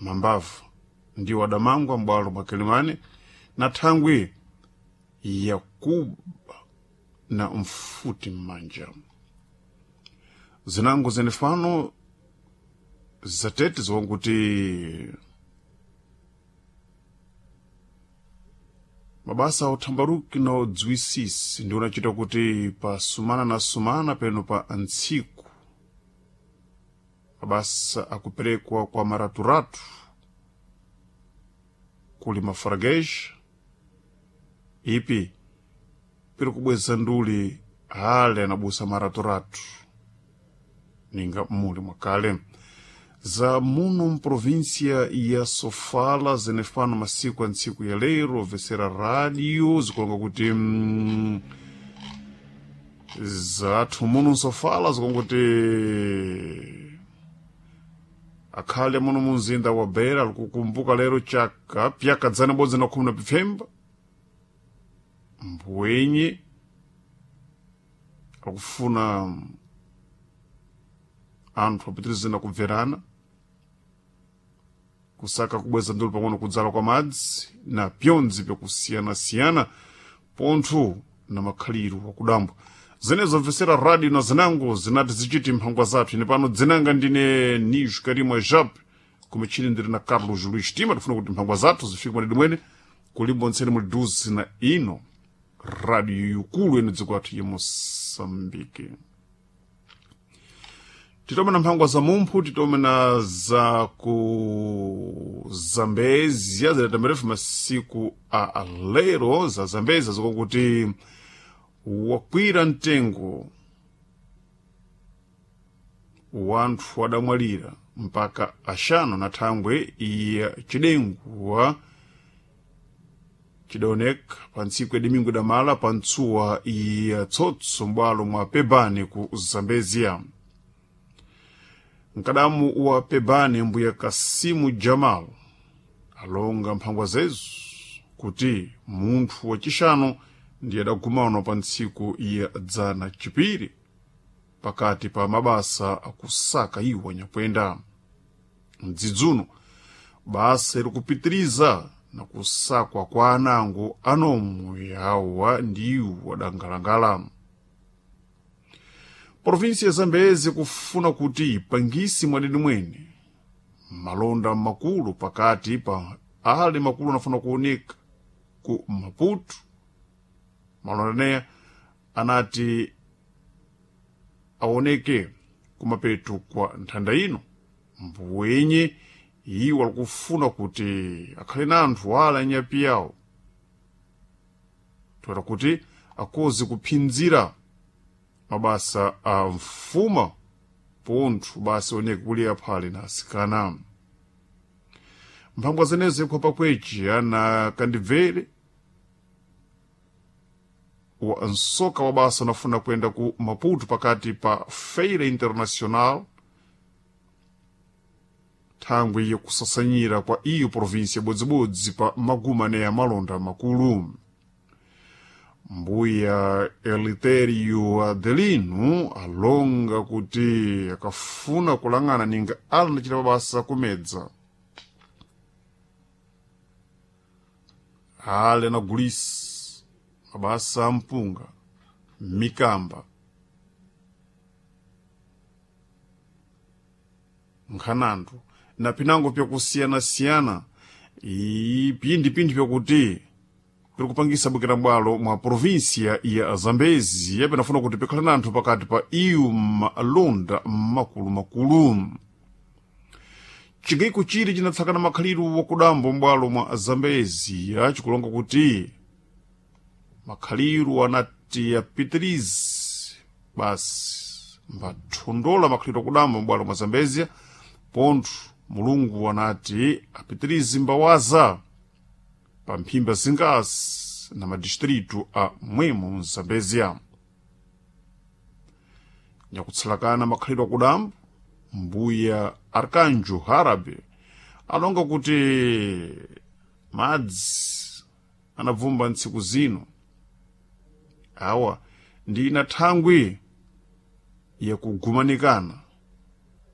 Mambavu ndiwo adamangwa m'bwalo mwa Kilimani na thangwi yakuba na mfuti m'manja. Zinango zenefano zatete ziwanguti mabasa othambaruki na odziwisisi ndi unachita kuti pa sumana na sumana peno pa ntsiku mabasa akuperekwa kwa maraturatu kuli mafarageja ipi piri kubweza nduli ale anabusa maraturatu ninga muli mwakale za muno mprovinsia ya Sofala zenefano masiku a ntsiku ya lero obvesera rádio zikulonga kuti zathu muno msofala zikulonga kuti akhale muno munzinda wa Beira likukumbuka lero chaka pyaka dzana bodzi na khumi na pifemba mbwenye akufuna anthu apitirize na kubverana kusaka kubweza ndulu pang'ono kudzala kwa madzi na pyondzi pyakusiyanasiyana pontho na makhaliro akudambwa. Zenezo mvesera rádio na zinango zinati zichiti mphangwa zathu. Ine pano dzinanga ndine Nijo Karimo Jap kumichini ndiri na Carlos Luis Tima. Tifuna kuti mphangwa zathu zifike mwadidi mwene kulimbo ntsene muli duzi na ino rádio yukulu ino dziko athu ya Moçambique. Titome na mphangwa za mumphu, titome na za ku Zambezia zidatamberefu masiku a lero za Zambezia zikokuti wakwira mtengo wanthu adamwalira mpaka axano na thangwe ya cidenguwa cidaoneka pa ntsiku ya domingo damala pa ntsuwa ya tsotso m'bwalo mwa Pebane ku Zambezia. Mkadamu wa Pebane mbuya Kasimu Jamal alonga mphangwa zezu kuti munthu wacixano ndiye adagumano pa ntsiku ya dzana cipiri pakati pa mabasa akusaka iwo anyakwenda. Mdzidzuno basa ilikupitiriza na kusakwa kwa anango anomwe yawa ndiwo adangalangala. Provinsi ya Zambezi kufuna kuti ipangisi mwadidi mwene malonda makulu pakati pa ale makulu anafuna kuoneka ku Maputo. Malonda neya anati aoneke kumapeto kwa nthanda ino mbwenye iwo alikufuna kuti akhale na anthu ala anyapi yawo toera kuti akoze kuphinzira mabasa a mfuma pontho basi oneke kuli aphale na asikana. Mphangwa zenezo ikhwapa kweji ana kandibvere wa nsoka wa basa unafuna kwenda ku Maputo pakati pa Feira Internacional thangwi yakusasanyira kwa iyo provinsi bodzibodzi pa maguma ya malonda makulu. Mbuya Eliterio Adelino alonga kuti akafuna kulang'ana ninga alanachita mabasa kumedza ale anagulisa mabasa ampunga mikamba nkhanandu na pinango pyakusiyanasiyana pindipindi pyakuti piri kupangisa bwekera bwalo mwa provinsia ya Zambezi yapenafuna kuti pikhale na anthu pakati pa iyu malonda makulumakulu. Chigayiko chili chinatsakana makhaliro wakudambo m'bwalo mwa Zambezi achikulonga kuti makhaliro anati apitirize basi mbathondola makhaliro akudambo m'bwalo mwa Zambezia pontho Mulungu anati apitirize mbawaza pa mphimba zingasi na madistritu a mwemo mZambezia. Nyakutsalakana makhalidwe akudambo mbuya Arkanjo Harabe alonga kuti madzi anabvumba ntsiku zino awa ndi ina thangwi yakugumanikana